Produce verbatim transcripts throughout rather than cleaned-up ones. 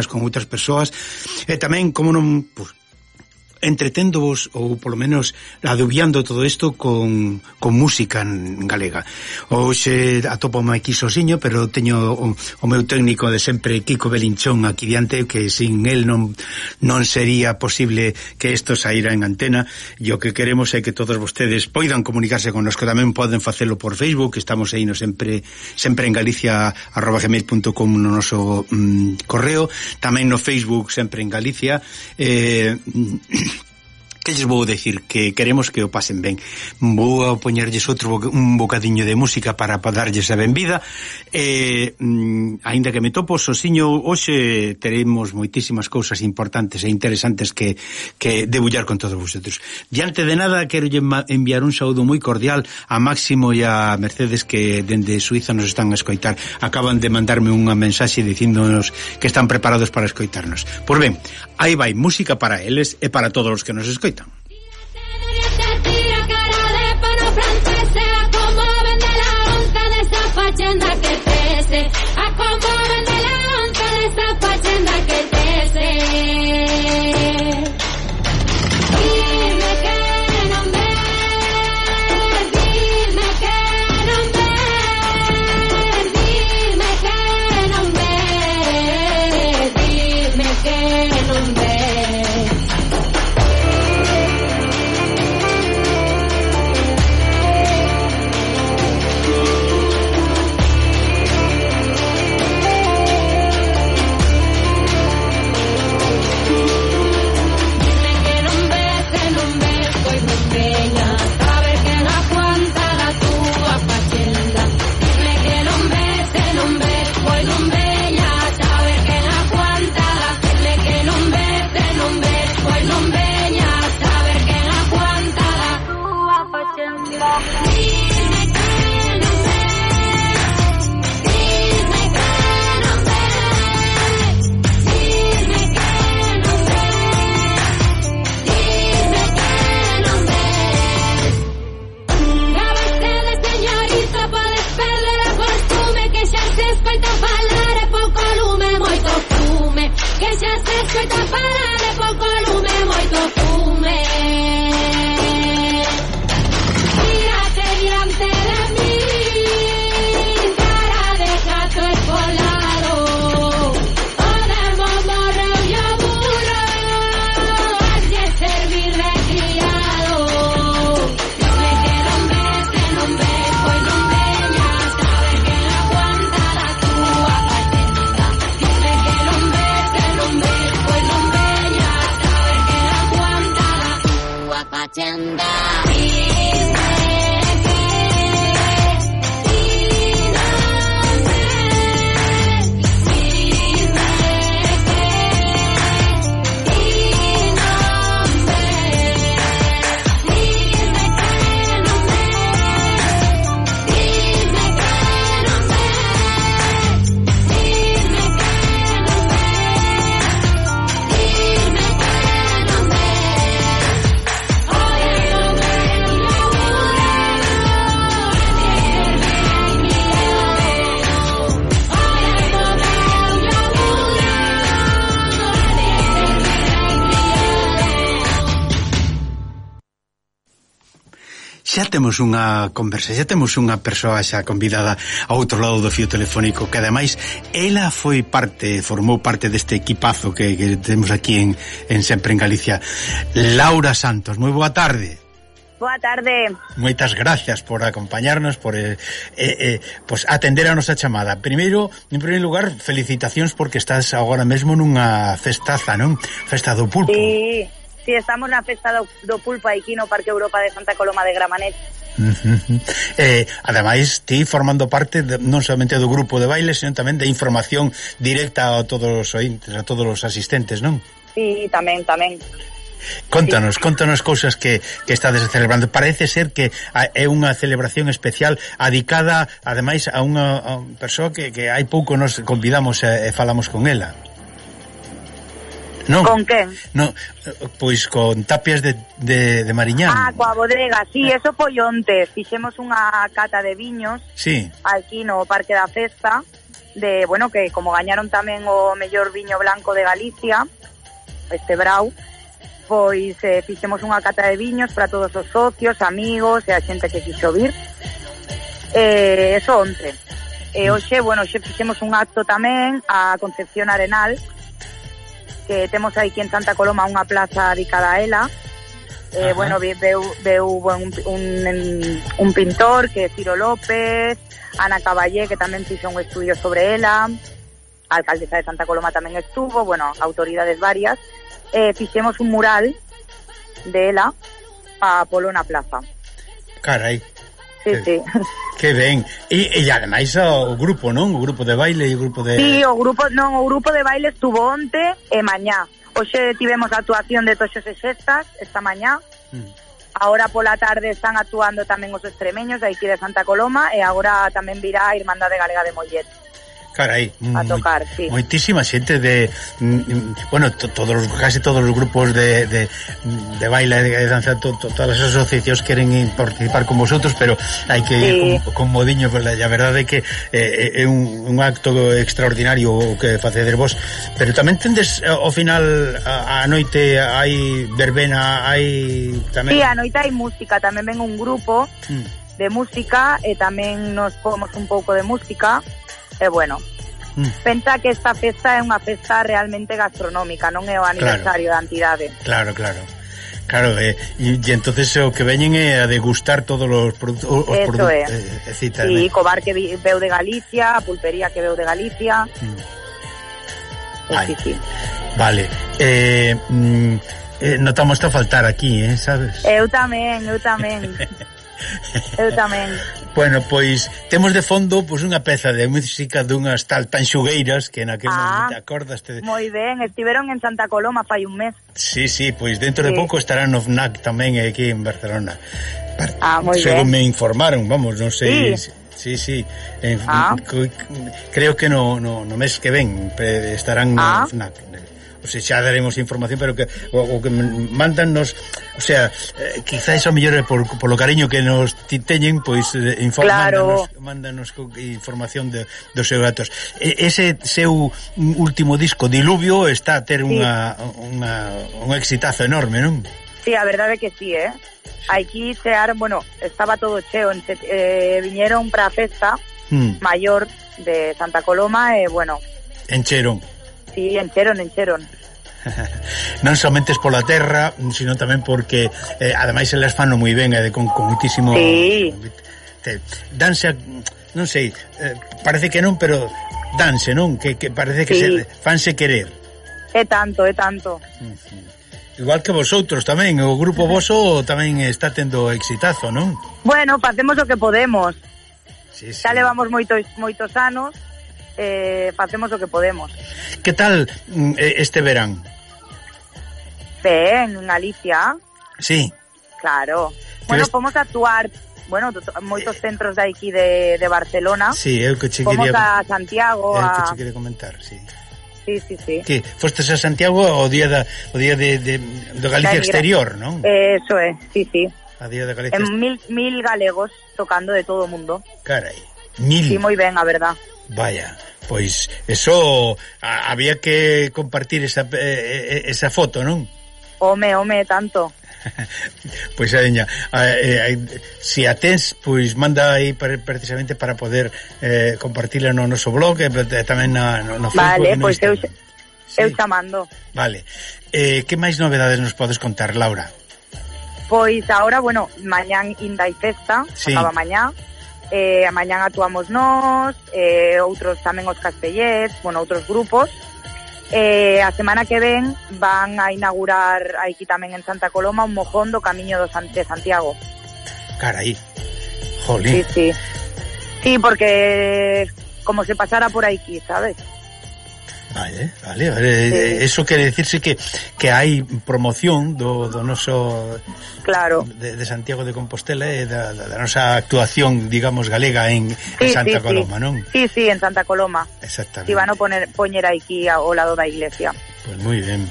con outras persoas, e tamén, como non, pues, entreténdovos ou polo menos adubiando todo isto con, con música en galega. Hoxe atopome aquí sosiño, pero teño o, o meu técnico de sempre, Kiko Belinchón, aquí diante, que sin él non, non sería posible que isto saíra en antena, e o que queremos é que todos vostedes poidan comunicarse con nos, que tamén poden facelo por Facebook, estamos aí no sempre sempre en Galicia arroba gmail punto com no noso mm, correo, tamén no Facebook sempre en Galicia. eh Que lles vou decir? Que queremos que o pasen ben. Vou a poñerlles outro bo un bocadiño de música para, para darlles a benvida. E, mm, aínda que me topo sosiño, hoxe teremos moitísimas cousas importantes e interesantes que, que debullar con todos vosotros. Diante de nada, quero enviar un saúdo moi cordial a Máximo e a Mercedes, que dende Suiza nos están a escoitar. Acaban de mandarme unha mensaxe dicíndonos que están preparados para escoitarnos. Pois ben, aí vai música para eles e para todos os que nos escoitan. Fachenda que crece, a como vende la onza de esa fachenda que crece. Dime que no ves, dime que no ves, dime que no ves, dime que no ves. Xa temos unha conversa, xa temos unha persoa xa convidada ao outro lado do fío telefónico, que ademais ela foi parte, formou parte deste equipazo que, que temos aquí en, en Sempre en Galicia. Laura Santos, moi boa tarde. Boa tarde. Moitas gracias por acompañarnos, por eh, eh, pues atender a nosa chamada. Primeiro, en primeiro lugar, felicitacións porque estás agora mesmo nunha festaza, non? Festa do pulpo. Sí. Si, sí, estamos na festa do, do pulpo aquí no Parque Europa de Santa Coloma de Gramanet. Uh-huh. eh, ademais, ti formando parte de, non somente do grupo de baile, sino tamén de información directa a todos os ointes, a todos os asistentes, non? Sí, tamén, tamén. Contanos, sí. contanos cousas que, que estades celebrando. Parece ser que é unha celebración especial adicada, ademais, a unha, a unha persoa que, que hai pouco nos convidamos e, e falamos con ela. Non, con quen? No, pois con Tapias de, de, de Mariñán. Ah, coa bodega, sí, eso foi onte. Fixemos unha cata de viños, sí, aquí no Parque da Festa. de, bueno, que como gañaron tamén o mellor viño blanco de Galicia, este Brau, pois eh, fixemos unha cata de viños para todos os socios, amigos e a xente que quixo vir. Eh, eso onte. E hoxe, bueno, hoxe fixemos un acto tamén a Concepción Arenal, que temos aquí en Santa Coloma unha plaza dedicada a ela. Eh, bueno, veu, veu un, un, un pintor que é Ciro López, Ana Caballé, que tamén fixo un estudio sobre ela, a alcaldesa de Santa Coloma tamén estuvo, bueno, autoridades varias. Eh, fixemos un mural de ela a polo na plaza. Carai. Sí, que, sí. Que ben. E, e ademais o grupo, non? O grupo de baile e o grupo de... Sí, o grupo, non, o grupo de baile estuvo onte e mañá. Hoxe tivemos a actuación de Toxos e Xestas esta mañá. Mm. Agora pola tarde están actuando tamén os extremeños de aquí de Santa Coloma e agora tamén virá a Irmandade Galega de Mollet. Carai, a tocar, moi, sí. Moitísima xente de, bueno, to, todos os, casi todos os grupos de, de, de baile e de danza, to, to, todas as asociacións queren participar con vosotros, pero hai que ir sí. con, con modiño, pero a verdade é que eh, é un, un acto extraordinario o que facedes vos, pero tamén tendes ao final a, a noite hai verbena, hai tamén... Sí, a noite hai música, tamén ven un grupo mm. de música e tamén nos pomos un pouco de música. E bueno, mm. pensa que esta festa é unha festa realmente gastronómica, non é o aniversario claro. da entidade. Claro, claro. Claro, e, e, e entonces o que veñen é a degustar todos os produtos. Os Eso é. Eh, cita, sí, co bar que veu de Galicia, a pulpería que veu de Galicia. Mm. Pues sí, sí. Vale. Eh, mm, eh, notamos a faltar aquí, eh, sabes? Eu tamén, eu tamén. Eu tamén. Bueno, pois temos de fondo pois unha peza de música dunhas tal Tanxugueiras que naquel ah, momento acordaste. Moi ben, estiveron en Santa Coloma fai un mes. Sí, sí, pois dentro sí. de pouco estarán no F N A C tamén aquí en Barcelona. Ah, moi ben. Según me informaron, vamos, non sei. Sí. Sí, sí, en, ah. creo que no, no, no mes que ven estarán ah. no F N A C. O sea, xa daremos información, pero que o, o que mandannos, o sea, eh, quizás o mellor é por, por lo cariño que nos teñen, pois eh, inform, claro. mándanos, mándanos información de, dos seus datos. E, ese seu último disco, Diluvio, está a ter sí. unha, unha, un exitazo enorme, non? Sí, a verdade é que sí, eh? Aquí chearon, bueno, estaba todo cheo, eh, viñeron para a festa hmm. maior de Santa Coloma e, bueno... Encheron. Sí, encheron, encheron. Non somente pola terra, sino tamén porque eh, ademais elas fano moi ben, eh, con, con muitísimo sí. te, danse, non sei, eh, parece que non, pero danse, non? Que, que parece que sí. se fanse querer. É tanto, é tanto. Uh-huh. Igual que vosotros tamén, o grupo voso tamén está tendo exitazo, non? Bueno, facemos o que podemos. Sí, sí. Xa levamos moitos moitos anos. Eh, facemos o que podemos. Que tal este verán? Ben, en Galicia. Sí. Claro. Bueno, ves... podemos actuar, bueno, moitos centros de aquí de, de Barcelona. Sí, eu que che quería... Vamos a Santiago. Eu a... que che quería comentar, sí. Sí, sí, sí. Que fostes a Santiago o día da o día de, de, de Galicia exterior, non? Eso é, sí, sí. A día de Galicia. En mil, mil galegos tocando de todo o mundo. Carai, mil. Sí, moi ben, a verdad. Vaya, pois eso a, había que compartir esa eh, esa foto, non? Home, home, tanto. Pois adeña, eh, eh, se a tens, pois manda aí para, precisamente para poder eh, compartirla no noso blog e eh, tamén na, no, no Facebook. Vale, pois eu, sí. eu chamando. Vale, eh, que máis novedades nos podes contar, Laura? Pois agora, bueno, mañán inda hai festa, sí. acaba mañá. Eh, mañán actuamos nós, eh, outros tamén os castellets, bueno, outros grupos. Eh, a semana que ven van a inaugurar aquí tamén en Santa Coloma un mojón do Camiño do San, de Santiago. Carai, jolín. Sí, sí. Sí, porque como se pasara por aquí, ¿sabes? Vale, vale, vale. Sí. Eso quere decirse que que hai promoción do, do noso claro de, de Santiago de Compostela e da, da, da nosa actuación, digamos, galega en, sí, en Santa sí, Coloma, sí. non? Sí, sí, en Santa Coloma. Exactamente. Si van a poner poñer aquí ao lado da iglesia. Pues moi ben.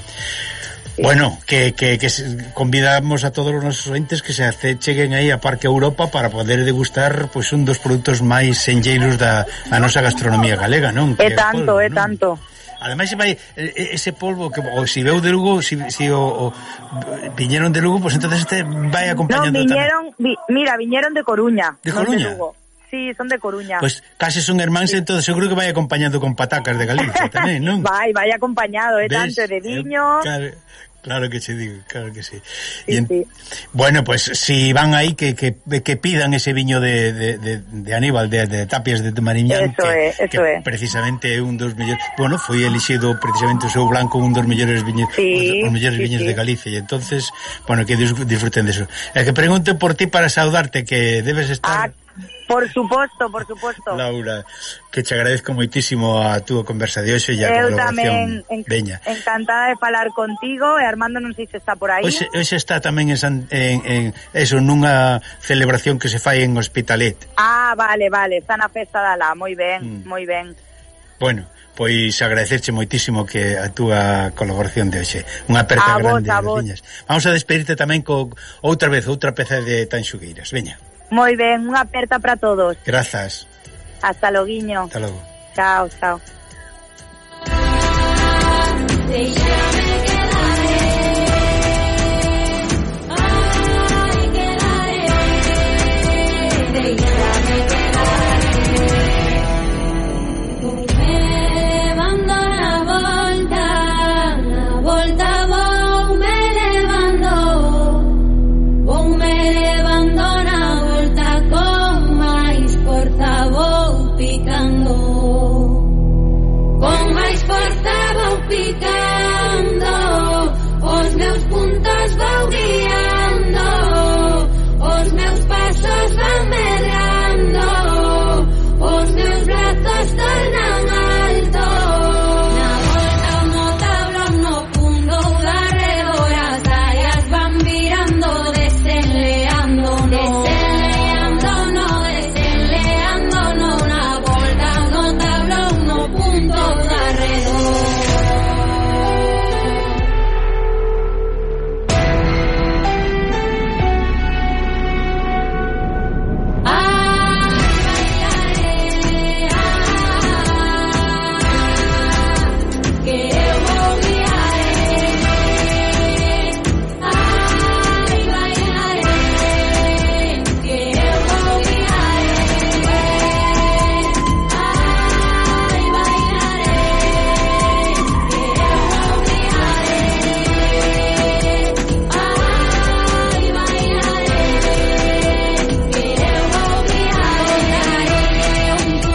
sí. Bueno, que, que, que convidamos a todos os nosos ointes que se hace, cheguen aí a Parque Europa para poder degustar pois un dos produtos máis senlleiros da, da nosa gastronomía galega, non? É tanto, é tanto. Ademais, se vai ese polvo que o si veu de Lugo, si, si o, o viñeron de Lugo, pois pues entonces este vai acompañando. No, viñeron, vi, mira, viñeron de Coruña. De Coruña? De Lugo. Sí, son de Coruña. Pois pues, case son hermáns, sí. Entón seguro que vai acompañando con patacas de Galicia tamén, non? Vai, vai acompañado, é tanto de viño. Claro, claro que se digo, claro que sí. Sí, en, sí. Bueno, pues si van aí que, que, que pidan ese viño de, de, de, de Aníbal, de, de Tapias de Mariñán, eso que, é, eso que é. precisamente é un dos mellores, bueno, foi elixido precisamente o seu blanco un dos mellores viños, sí, os mellores sí, viños sí. de Galicia, e entonces, bueno, que disfruten de eso. E que pregunte por ti para saudarte, que debes estar... Ah, por suposto, por suposto. Laura, que te agradezco moitísimo a túa conversa de hoxe e a Eu colaboración. tamén en, Veña. encantada de falar contigo, e Armando non sei se está por aí. Hoxe, hoxe está tamén en, San, en, en eso, nunha celebración que se fai en Hospitalet. Ah, vale, vale, está na festa da lá, moi ben, mm. moi ben. Bueno, pois agradecerche moitísimo que a túa colaboración de hoxe. Unha aperta a grande. Vos, a vos. Vamos a despedirte tamén co outra vez, outra peza de Tanxugueiras. Veña. Moi ben, unha aperta para todos. Grazas. Hasta loguiño. Hasta logo. Chao, chao.